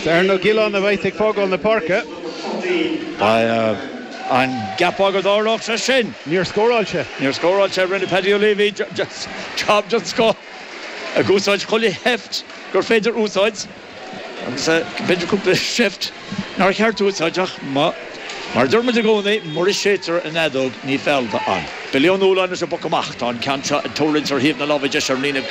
Is Aaron Ó Giolláin a bheas ag fágáil na páirce. An gceapfá go dtarlódh sé sin? Níor scóráil sé. Níor scóráil sé. Rinne Paddy O'Leavy job den scoth ag úsáid chuile sheift gur féidir úsáid agus b'fhéidir cúpla seift nár cheart úsáid ach mar a deir muid i gcónaí, mura séidtear an fheadóg ní feallta an. Billy Ó Nualláin leis an bpoc amach. Tá an ceann seo ag tuirlingt ar thaobh na láimhe deise ar an líne.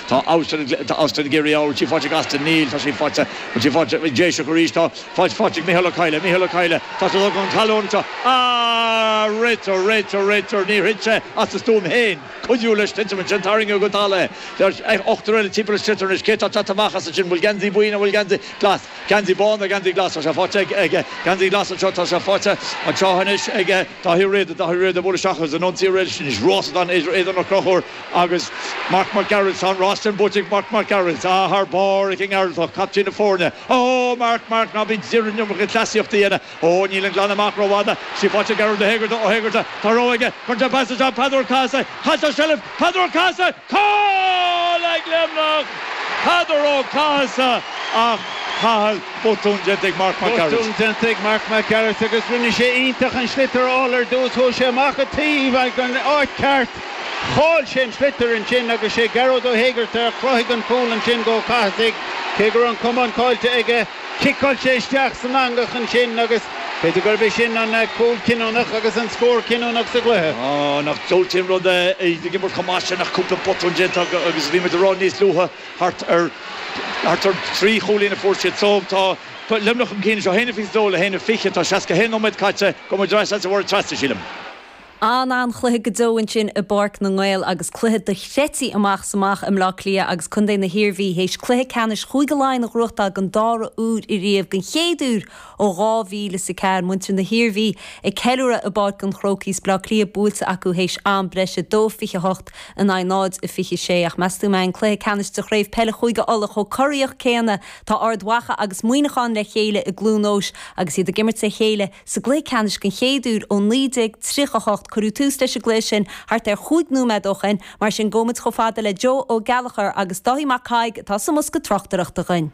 Tá Austin ag iarraidh í, bhfuil sí faighte ag Austin? Níl, tá sí faighte, bhfuil sí faighte ag Déiseach arís? Tá faighte faighte ag Micheál Ó Cadhla, Micheál Ó Cadhla, tá sé chun talún anseo. Ah! Réiteoir, réiteoir, réiteoir, níor thit sé as a stuaim féin. Cuidiú leis titim ansin, tarraingeadh go talamh é. Ochtar eile timpeall an tsliotair anois. Cé atá ag teacht amach as ansin? Bhfuil geansaí buí nó bhfuil geansaí glas? Geansaí bán nó geansaí glas? Tá sé faighte ag geansaí glas anseo, tá sé faighte anseo anois ag Daithí Ó Riada, Daithí Ó Riada ag bualadh isteach agus an ionsaí arís anois. Rás atá ann idir Aodán Ó Conchúir agus Marc Mac Gearailt. Tá an rás sin buaite ag Marc Mac Gearailt. Ah, thar barr ag an nGearaltach, captaen na foirne. Ó, Marc, Marc, ná bí d'iarraidh an iomarca cleasaíochta a dhéanamh. Ó, níl an glanadh amach rófhada. Sí faighte ag Gearóid Ó hÉigearta, Ó hÉigearta, tá rogha aige. Cuireann sé pas isteach, Peadar Ó Cathasaigh. Chaill sé seilbh, Peadar Ó Cathasaigh! Cúl ag Luimneach! Peadar Ó Cathasaigh ach Cathal, botún déanta ag Marc Mac Gearailt. Botún déanta ag Marc Mac Gearailt agus rinne sé iontach an sliotar a fháil ar dtús. Chuaigh sé amach an taobh ag an áit ceart. Chaill sé an sliotar ansin agus sé Gearóid Ó hÉigearta a chruthaigh an cúl ansin go Ó Cathasaigh cé go raibh an camán caillte aige. Chiceáil sé isteach san eangach ansin agus b'fhéidir gurb é sin an cúl cinniúnach agus an scór cinniúnach sa gcluiche. Á, nach diabhaltaí an rud é iad ag imirt chomh maith sin ach cúpla botún déanta acu agus bhí muid ag rá níos luaithe thart ar thart ar thrí chúilín a fuair siad so tá Luimneach chun cinn anseo, 1-22 le 1-20, tá 61 nóiméad caite, gabhfaidh muid ar ais leatsa a Mháire Treasa, sílim. An-an-chluiche go deo ansin i bPáirc na nGael agus cluiche dochreidte amach is amach i mBleá Cliath agus Contae na hIarmhí théis cluiche ceannais Chúige Laighean a ghnóthachtáil don dara huair ariamh, don chéad uair ó 2004. Muintir na hIarmhí ag ceiliúradh i bPáirc an Chrócaigh is Bleá Cliath buailte acu théis am breise, 2-28 in aghaidh 0-26. Ach meas tú an mbeidh an cluiche ceannais de Chraobh Peile Chúige Uladh chomh corraitheach céanna? Tá Ard Mhacha agus Muineachán le chéile i gCluain Eois agus iad ag imirt le chéile Sa gcluiche ceannais den chéad uair ó 1938, cuireadh tús leis an gcluiche sin thart ar chúig nóiméad ó shoin, mar sin gabhfaidh muid chomh fada le Joe Ó Gallchóir agus Dáithí Mac Thaidhg atá sa mbosca tráchtaireachta dhuinn.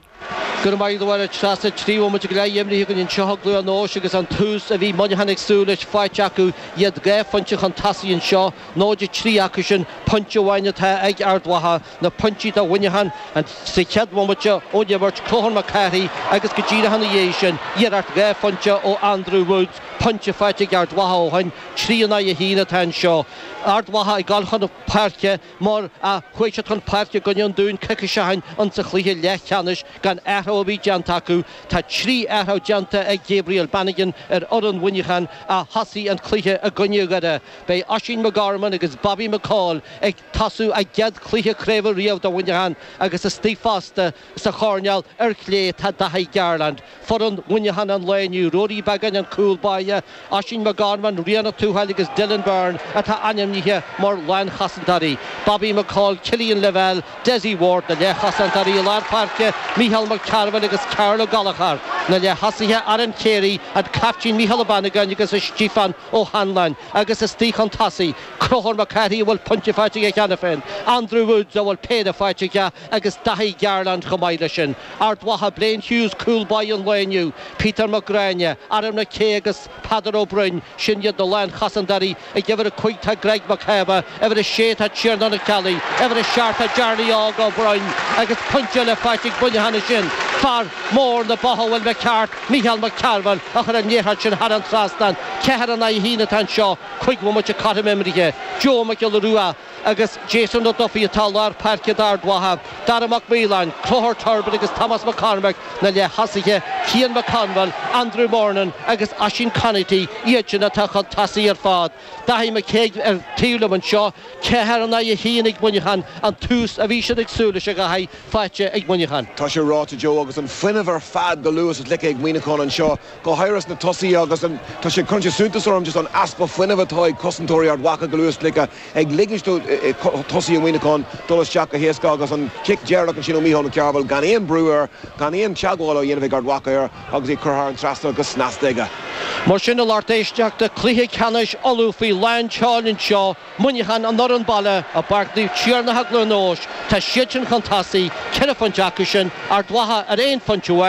Go raibh maith agat a Mháire Treasa, 3 bhomaite go leith imrithe againn anseo i gCluain Eois agus an tús a bhí Muineachán ag súil leis faighte acu, iad 2 phointe chun tosaigh anseo, 0-3 acu sin, pointe amháin atá ag Ard Mhacha. Na pointí do Mhuineachán sa chéad bhomaite ón imirt, Conchúr Mac Cárthaigh agus go díreach ina dhiaidh sin, iarracht 2 phointe ó Andrew Woods, pointe faighte ag Ard Mhacha ó shin, 3 in aghaidh 1 atá anseo. Ard Mhacha ag dul chun páirce mar a chuaigh siad chun páirce i gcoinne an Dúin coicís ó shin insa chluiche leathcheannais gan athrú ar bith déanta acu. Tá 3 athrú déanta ag Gabriel Bannigan ar fhoireann Mhuineacháin a thosaigh an cluiche i gcoinne Dhoire. Beidh Oisín McGorman agus Bobby McCaul ag tosú a gcéad chluiche craoibhe riamh do Mhuineachán agus istigh fosta sa choirnéal ar chlé tá Daithí Garland. Foireann Mhuineacháin an lae inniu, Ruairí Beagáin an cúl báire, Oisín McGorman, Ríonach Tuathail agus Dylan Byrne atá ainmnithe mar lánchosantóirí, Bobby McCaul, Cillian Lavelle, Dessie Ward na leathchosantóirí i lár páirce, Mícheál Mac Cearbhaill agus Karl Ó Gallchóir na leath-thosaithe, Aaron Carey, an caiptín Mícheál Ó Bannagáin agus Stiofán Ó hAnluain agus istigh chun tosaigh, Conchúr Mac Cárthaigh a bhfuil pointe faighte aige cheana féin, Andrew Woods a bhfuil péire faighte aige agus Daithí Garland chomh maith leis sin. Ard Mhacha, Blaine Hughes, cúl báire an lae inniu, Peter Mac Gráinne, Aaron McKay agus Peadar Ó Broin, sin iad na lánchosantóirí. Ag uimhir 5 tá Greg Mac Shábha, uimhir 6 tá Tiarnán Ó Ceallaigh, uimhir 7 tá Jarly Óg Ó Broin agus pointe eile faighte ag Muineachán ansin, fear mór na botha a bhfuil mé ceart, Mícheál Mac Cearbhaill a chuir an liathróid sin thar an trasnán. 4 in aghaidh 1 atá anseo. 5 bhomaite cothrom imrithe. Joe Mac Giolla Rua agus Jason Ó Dufaigh atá i lár páirce d'Ard Mhacha. Dara Mac Maoláin, Conchúr Turbin agus Tomás Mac Cormaic na leath-thosaithe. Cian McConville, Andrew Murnin agus Oisín Conaty iad sin atá chun tosaigh ar fad. Daithí Mac Thaidhg ar taobh liom anseo. 4 in aghaidh 1 ag Muineachán, an tús a bhí siad ag súil leis a Dhaithí, faighte ag Muineachán. Tá sé ráite, Joe, agus an fuinneamh ar fad go luas is slite ag Muineachán anseo. go háirithe sna tosaithe agus an, tá sé, cuireann sé suntas orm just an easpa fuinnimh atá ag cosantóirí Ard Mhacha go luas slite, ag ligint do tosaithe Mhuineacháin dul isteach go héasca agus an cic deireanach ansin ó Mícheál Mac Cearbhaill gan aon brú air, gan aon teagmháil á dhéanamh ag Ard Mhacha air agus é curtha thar an trasnán go snasta aige. Mar sin, a lucht éisteachta, cluiche ceannais Uladh faoi lán tseoil anseo, Muineachán an fhoireann baile i bPáirc Naomh Tiarnach i gCluain Eois, tá siad sin chun tosaigh, ceithre phointe acu sin, Ard Mhacha ar aon phointe amháin.